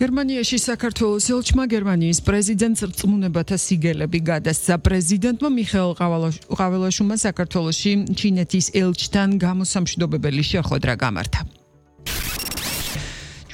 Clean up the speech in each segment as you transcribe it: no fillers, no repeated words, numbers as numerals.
გერმანიაში საქართველოს ელჩმა გერმანიის პრეზიდენტს რწმუნებათა სიგელები გადასცა. პრეზიდენტმა მიხეილ ყაველაშვილმა საქართველოში ჩინეთის ელჩთან გამოსამშვიდობებელი შეხვედრა გამართა.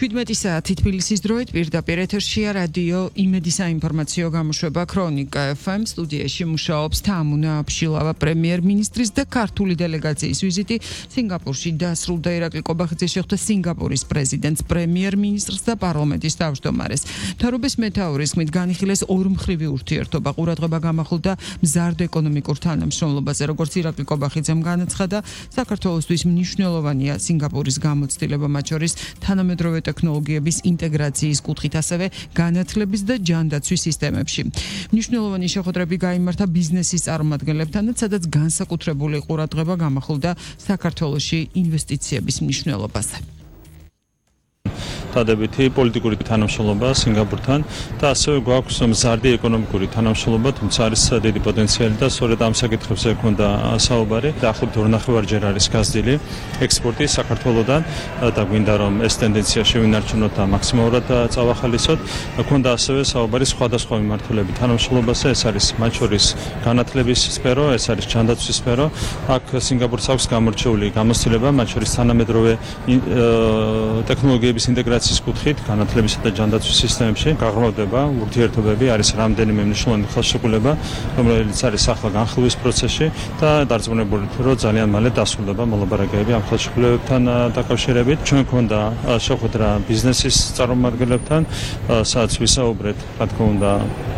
17 საათი თბილისის დროით პირდაპირ ეთერშია რადიო იმედი საინფორმაციო გამოშვება ქრონიკა FM სტუდიაში მუშაობს თამუნა აფშილავა პრემიერ-მინისტრის და ქართული დელეგაციის ვიზიტი სინგაპურში დასრულდა. ირაკლი კობახიძე შეხვდა სინგაპურის პრეზიდენტს, პრემიერ-მინისტრს და პარლამენტის თავმჯდომარეს. მთავრობის მეთაურის ხმით განიხილეს ორმხრივი ურთიერთობა. ყურადღება გამახვილდა მზარდ ეკონომიკურ თანამშრომლობაზე. როგორც ირაკლი კობახიძემ განაცხადა, საქართველოსთვის მნიშვნელოვანია სინგაპურის გამოცდილება, მათ შორის თანამედროვე ტექნოლოგიების ინტეგრაციის კუთხით, ასევე განათლების და ჯანდაცვის სისტემებში. მნიშვნელოვანი შეხვედრები გაიმართა ბიზნესის წარმომადგენლებთანაც, სადაც განსაკუთრებული ყურადღება გამახვილდა საქართველოში ინვესტიციების მნიშვნელობაზე. დადებითი პოლიტიკური თანამშრომლობა სინგაპურთან და ასევე გვაქვს მზარდი ეკონომიკური თანამშრომლობა, თუმცა არის დიდი პოტენციალი და სწორედ ამ საკითხებზე გვქონდა საუბარი. დაახლოებით 2.5-ჯერ არის გაზრდილი ექსპორტი საქართველოდან და გვინდა რომ ეს ტენდენცია შევინარჩუნოთ და მაქსიმალურად წავახალისოთ. გვქონდა ასევე საუბარი სხვადასხვა მიმართულებით თანამშრომლობაზე, ეს არის მათ შორის განათლების სფერო, ეს არის ჯანდაცვის სფერო. აქ სინგაპურს აქვს გამორჩეული გამოცდილება, მათ შორის თანამედროვე ტექნოლოგიების ინტეგრაციის კუთხით, განათლებისა და ჯანდაცვის სისტემებში გაღრმავდება ურთიერთობები, არის რამდენიმე მნიშვნელოვანი ხელშეკრულება, რომელიც არის ახლა განხილვის პროცესში და დარწმუნებული რომ ძალიან მალე დასრულდება მოლაპარაკებები ამ ხელშეკრულებებთან დაკავშირებით. ჩვენ გვქონდა შეხვედრა ბიზნესის წარმომადგენლებთან, სადაც ვისაუბრეთ, რა თქმა უნდა,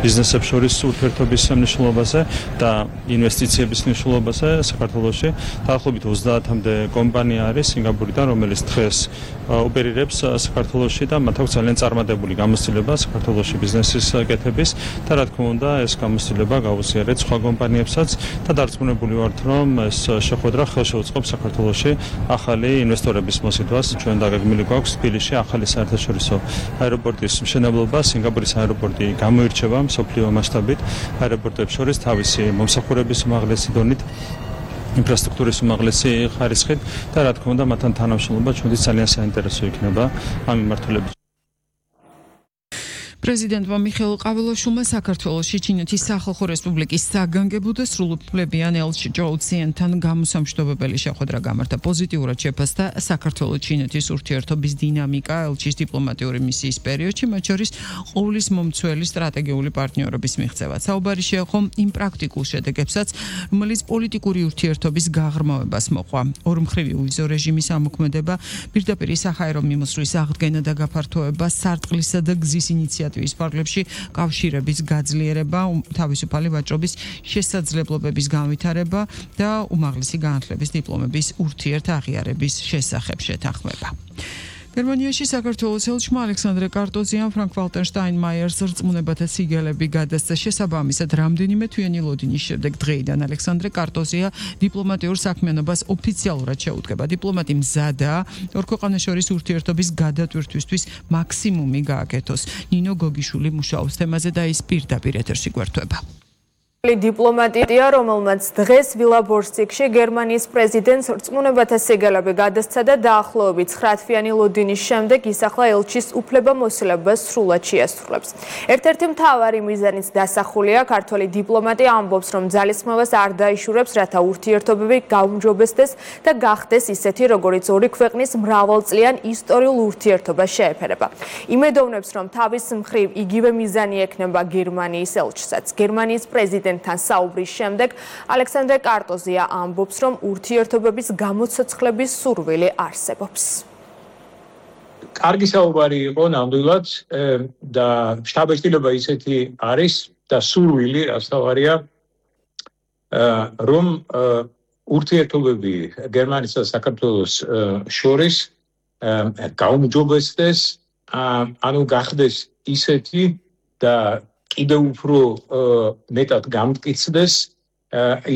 ბიზნესებს შორის ურთიერთობის მნიშვნელობაზე და ინვესტიციების მნიშვნელობაზე საქართველოში. დაახლოებით 30-მდე კომპანია არის სინგაპურიდან, რომელიც დღეს ოპერირებს საქართველოში და მათ აქვს ძალიან წარმატებული გამოცდილება საქართველოში ბიზნესის კეთების და რა თქმა უნდა ეს გამოცდილება გაუზიარეთ სხვა კომპანიებსაც და დარწმუნებული ვართ რომ ეს შეხვედრა ხელშეუწყობს საქართველოში ახალი ინვესტორების მოსიდვას. ჩვენ დაგეგმილი გვაქვს თბილისში ახალი საერთაშორისო აეროპორტის მშენებლობა. სინგაპურის აეროპორტი გამოირჩევა მსოფლიო მასშტაბით აეროპორტებს შორის თავისი მომსახურების უმაღლესი დონით, ინფრასტრუქტურის უმაღლესი ხარისხით და რა თქმა უნდა მათთან თანამშრომლობა ჩვენთვის ძალიან საინტერესო იქნება ამ მიმართულებით. პრეზიდენტმა მიხეილ ყაველაშვილმა საქართველოში ჩინეთის სახალხო რესპუბლიკის საგანგებო და სრულუფლებიან ელჩ ჯოუ ციენთან გამოსამშვიდობებელი შეხვედრა გამართა. პოზიტიურად შეფასდა საქართველო-ჩინეთის ურთიერთობის დინამიკა ელჩის დიპლომატიური მისიის პერიოდში, მათ შორის ყოვლის მომცველი სტრატეგიული პარტნიორობის მიღწევა. საუბარი შეეხო იმ პრაქტიკულ შედეგებსაც, რომელიც პოლიტიკური ურთიერთობის გაღრმავებას მოყვა. ორმხრივი უვიზო რეჟიმის ამოქმედება, პირდაპირ საჰაერო მიმოსვლის აღდგენა და გაფართოება, სარტყლისა და გზის ინიციატივა ფარგლებში კავშირების გაძლიერება, თავისუფალი ვაჭრობის შესაძლებლობების განვითარება და უმაღლესი განათლების დიპლომების ურთიერთაღიარების შესახებ შეთანხმება. გერმანიაში საქართველოს ელჩმა ალექსანდრე კარტოზიამ ფრანკ-ვალტერ შტაინმაიერს რწმუნებათა სიგელები გადასცა. შესაბამისად, რამდენიმე თვიანი ლოდინის შემდეგ დღეიდან ალექსანდრე კარტოზია დიპლომატიურ საქმიანობას ოფიციალურად შეუდგება. დიპლომატი მზადაა ორ ქვეყანას შორის ურთიერთობის გადატვირთვისთვის მაქსიმუმი გააკეთოს. ნინო გოგიშვილი მუშაობს თემაზე და ის პირდაპირ ეთერში გვერდება. დიპლომატია, რომელმაც დღეს ვილაბორციკში გერმანიის პრეზიდენტს რწმუნებათა სიგელები გადასცა და დაახლოებით 9 თვიანი ლოდინის შემდეგ ის ახლა ელჩის უფლებამოსილებას სრულად შეასრულებს. ერთ-ერთი მთავარი მიზანიც დასახულია, ქართველი დიპლომატი ამბობს, რომ ძალისხმევას არ დაიშურებს, რათა ურთიერთობები გაუმჯობესდეს და გახდეს ისეთი, როგორიც ორი ქვეყნის მრავალწლიან ისტორიულ ურთიერთობას შეეფერება. იმედოვნებს, რომ თავის მხრივ იგივე მიზანი ექნება გერმანიის ელჩსაც. გერმანიის პრეზიდენტ თან საუბრის შემდეგ ალექსანდრე კარტოზია ამბობს, რომ ურთიერთობების გამოცოცხლების სურვილი არსებობს. კარგი საუბარი იყო ნამდვილად და შთაბეჭდილება ისეთი არის და სურვილი რასთავარია, რომ ურთიერთობები გერმანიისა და საქართველოს შორის გაუმჯობესდეს, ანუ გახდეს ისეთი და კიდევ უფრო მეტად გამტკიცდეს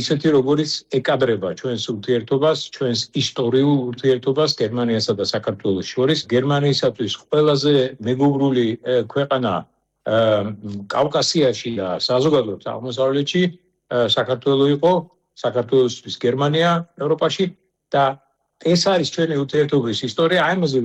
ისეთი, როგორც ეკადრება ჩვენს ურთიერთობას, ჩვენს ისტორიულ ურთიერთობას გერმანიასა და საქართველოს შორის. გერმანიისათვის ყველაზე მეგობრული ქვეყანა კავკასიაში და საზოგადოებრივ აღმოსავლეთში საქართველო იყო, საქართველოსთვის გერმანია ევროპაში და ეს არის ჩვენი ურთიერთობის ისტორია. აი ამაზე